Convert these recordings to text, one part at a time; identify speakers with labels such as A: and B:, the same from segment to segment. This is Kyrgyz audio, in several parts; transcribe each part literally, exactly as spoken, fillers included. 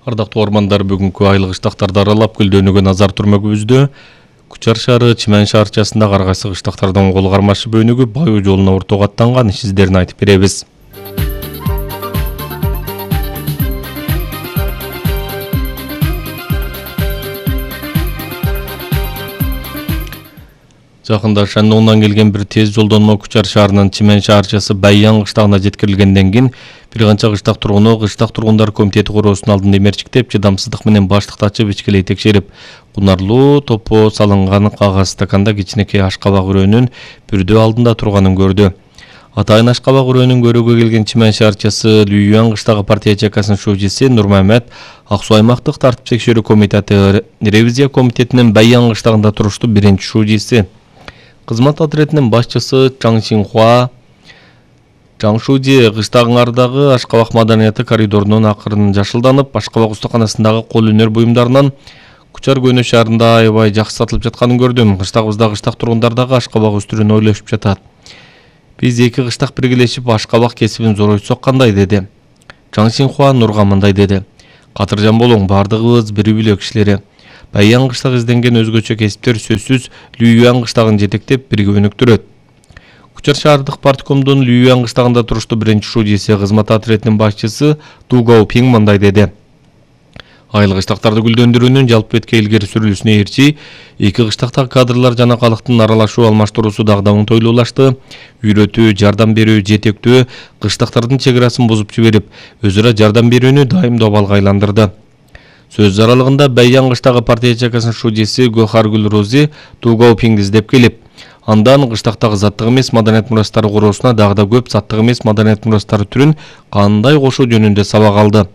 A: Ардактуу ормандар, бүгүнкү айлык ыштактарды аралап көлдөнүүгө назар турмөгүбүздө Кучар шаары Чимен шаарчасында ар кайсы ыштактардын кол кармашы бөлүгү Баю жолуна ортого аттанган иш издерин айтып беребиз. Жакында Шандоңдон келген бир тез жолдонмо Кучар шаарынын Чимен шаарчасы Баян кыштагына жеткирилгенден кийин бир канча кыштак тургуну кыштак тургундар комитети короосунун алдында эмерчиктеп, чыдамсыздык менен баштыкты ачып ичкилей текшерип, кунарлуу топо салынган кагаз стаканда кичинекей ашкабак үрөөнүн бүрдөө алдында турганын көрдү. Атайын ашкабак үрөөнүн көрүүгө келген Чимен шаарчасы Лүйүан кыштагы партия чекасынын шүүжеси Нурмамет Ак Суу аймактык тартип текшерүү комитети ревизия комитетинин Баян кыштагында туруштуу биринчи шүүжеси. Кызмат отрядынын башчысы Чаң Синхуа Чаң Шуди кыштагыңардагы ашкабак маданияты коридорунун акырын жашылданып, ашкабак устаканасындагы кол өнөр буюмдарынан Кучар Көнө шаарында аябай жакшы сатылып жатканын көрдүм. Кыштагыбызда кыштак тургундардагы ашкабак өстүрүүнү ойлошуп жатат. Биз эки кыштак биргелешип ашкабак кесибин зоройтсок кандай, деди. Чаң Синхуа Нурга мындай деди: Катыржан болуң, бардыгыбыз бири бүлөк кишилери. Баян кыштак изденген өзгөчө кесиптер сөзсүз Лүйүан кыштагын жетектеп бирге өнүктүрөт. Кучар шаардык парткомдун Лүйүан кыштагында туруштуу биринчи шүүжеси кызмат отрядынын башчысы Ду Гаопинг мындай деди: Айлык кыштактарды гүлдөндүрүүнүн жалпы бетке илгери сүрүлүшүнө ээрчи эки кыштактагы кадрлар жана калктын аралашуу алмаштыруусу дагы да оңтойлуулашты. Үйрөтүү, жардам берүү, жетектөө кыштактардын чек арасын бузуп жиберип, өз ара жардам берүүнү дайым добалга айландырды. Сөз аралыгында Баян кыштагы партия чекасынын шүүжеси Гохаргүл Рози Ду Гаопингди издеп келип, андан кыштактагы заттык эмес маданият мурастары короосуна дагы да көп заттык эмес маданият мурастары түрүн кандай кошуу жөнүндө сабак алды.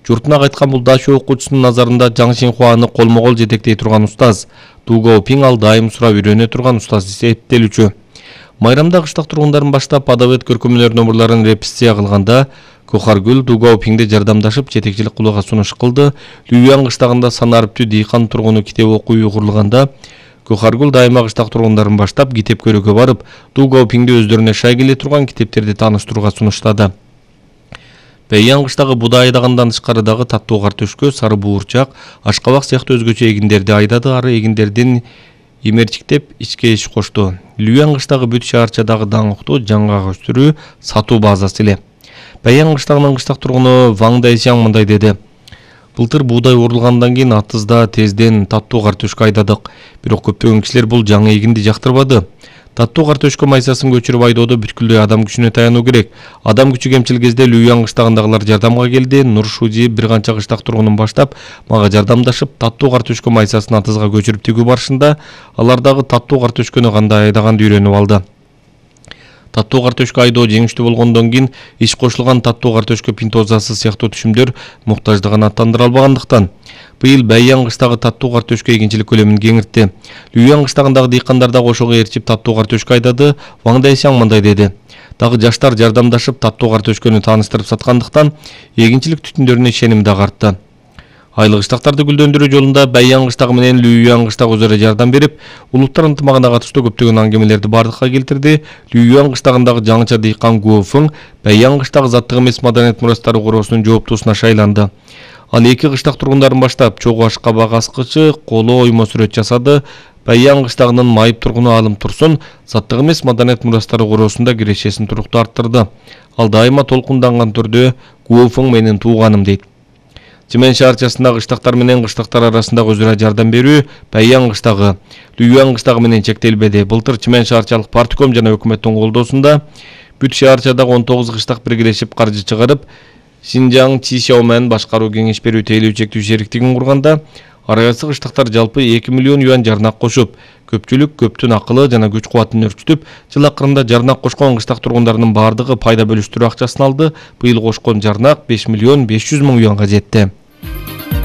A: Журтуна кайткан бул дача окуучусунун назарында Чаң Синхуаны колмо-кол жетектей турган устаз, Ду Гаопинг ал дайым сурап үйрөнө турган устаз эсептелүүчү. Майрамда кыштак тургундарын баштап адабет көркөмөлөр номурларын репетиция кылганда Гохаргүл Ду Гаопингди жардамдашып жетекчилик кылууга сунуш кылды. Лүйүан кыштагында санарыптүү дыйкан тургуну китеп окуу уйгурлуганда Гохаргүл дайыма кыштак тургундарын баштап китеп көрүүгө барып, Ду Гаопингди өздөрүнө шай келе турган китептерди тааныштырууга сунуштады. Баян кыштагы будай айдагандан тышкарыдагы таттуу картөшкө, сары буурчак, ашкабак сыяктуу өзгөчө эгиндерди айдады. Ары эгиндердин эмерчиктеп ичке иш кошту. Лүйүан кыштагы бүт шаарчадагы даңктуу жаңгак өстүрүү сатуу базасы эле. Баян кыштагынын кыштак тургуну Ваң Дайсяң мындай деди: Былтыр буудай урулгандан кийин атызда тезден таттуу картөшкө айдадык. Бирок көптөгөн кишилер бул жаңы эгинди жактырбады. Таттуу картөшкө майсасын көчүрүп айдоодо бүткүлдөй адам күчүнө таянуу керек. Адам күчү кемчил кезде Лүйүан кыштагындагылар жардамга келди. Нур Шуди бир канча кыштак тургунун баштап, мага жардамдашып, таттуу картөшкө майсасын атызга көчүрүп тигүү барышында алар дагы таттуу картөшкөнү кандай айдаганды үйрөнүп алды. Таттуу картөшкө айдоо жеңиштүү болгондон кийин иш кошулган таттуу картөшкө пинтозасы сыяктуу түшүмдөр муктаждыгын аттандыра албагандыктан быйыл Баян кыштагы таттуу картөшкө эгинчилик көлөмүн кеңиртти. Лүйүан кыштагындагы дыйкандар да кошого ээрчип таттуу картөшкө айдады. Ваң Дайсяң мындай деди: Дагы жаштар жардамдашып таттуу картөшкөнү тааныштырып саткандыктан эгинчилик түтүндөрүнө ишеним да артты. Айлык кыштактарды гүлдөндүрүү жолунда Баян кыштагы менен Лүйүан кыштагы өзара жардам берип, улуттар ынтымагына катыштуу көптөгөн аңгемелерди бардыкка келтирди. Лүйүан кыштагындагы жаңыча дыйкан Гуофың Баян кыштагы заттык эмес маданият мурастары короосунун жооптуусуна шайланды. Ал эки кыштак тургундарын баштап чогуу ашкабак аскычы, коло оймо сүрөт жасады. Баян кыштагынын майып тургуну Алым Турсун заттык эмес маданият мурастары короосунда кирешесин туруктуу арттырды. Ал дайыма толкунданган түрдө Гуофың менин тууганым дейт. Чимен шаарчасындагы кыштактар менен кыштактар арасындагы өзара жардам берүү Баян кыштагы, Лүйүан кыштагы менен чектелбеди. Былтыр Чимен шаарчалык партком жана өкмөттүн колдоосунда бүт шаарчадагы он тогуз кыштак биргелешип каржы чыгарып, Шинжаң Чишаомен башкаруу кеңеш берүү тейлөө чектүү шериктигин курганда, ар кайсы кыштактар жалпы эки миллион юан жарнак кошуп, көпчүлүк көптүн акылы жана күч кубатын өрчүтүп, жыл акырында жарнак кошкон кыштак тургундарынын бардыгы пайда бөлүштүрүү акчасын алды. Быйыл кошкон жарнак беш миллион беш жүз миң юанга жетти.